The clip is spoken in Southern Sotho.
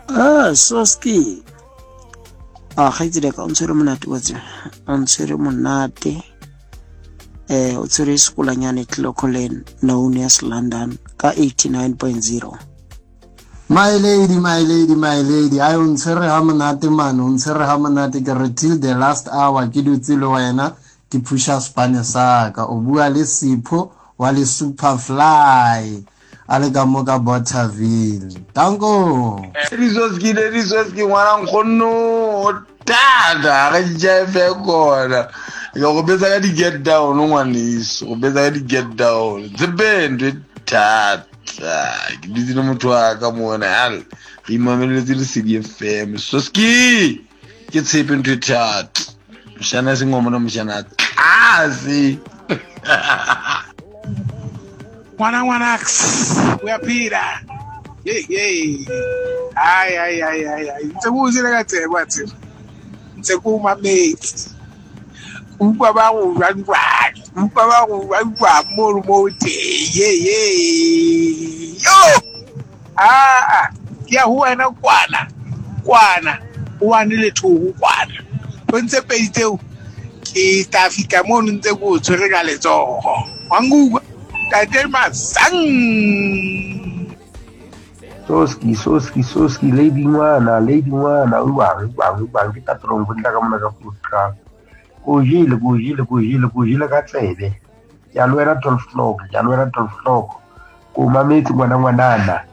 Ah, Soski. Ah, kgaitsedi ka o ntshwere monate wa tseba. O ntshwere monate. Eh, o tshwere sekolanyane Clocolan known as London ka 89.0. My lady, my lady, my lady, ai o ntshwere ha monate man, o ntshwere ha monate ke re till the last hour ke dutse le wena ke phusha spane sa ka. O bua le Sipho wa le Superfly a le ka mo ka Bothaville. Danko. Lady Soski, Lady Soski, ngwana nkgonno o thata ga jive kona. Ke go betsa ka di get down ngwaneso, go betsa ka di get down. Tsebe ntho e thata. Ke dutse le motho wa ka mona al re imameletse Lesedi FM. Soski ke tshepe ntho e thata. Moshana seng wa mona moshana tlase. Ngwana ngwana uyaphila. Hey hey. Hayi hayi hayi hayi hayi. Ntse ko jele ka tsebe wa tseba. Ntse ko mametse. Ke utlwa ba go jwang jwang. Ke utlwa ba go jwang jwang mo le mo teng. Ye ye. Yo! Ah, ke ya ho wena kwana. Kwana. O wane lethoho kwana. O ntse pedi tseo ke tla fihla mono ntse ke o tshwere ka letsogo. Wa nkutlwa? Tate Masang. Soski, soski, soski, lady ngwana, lady ngwana, uwang, uwang, uwang, ke tatrong go tla ka mona ka Grootkraal. Ko jele, ko jele, ko jele, ko jele ka tsebe. Ke a le wena 12 o'clock, ke a le wena 12 o'clock. Ko mametse ngwana ngwanana.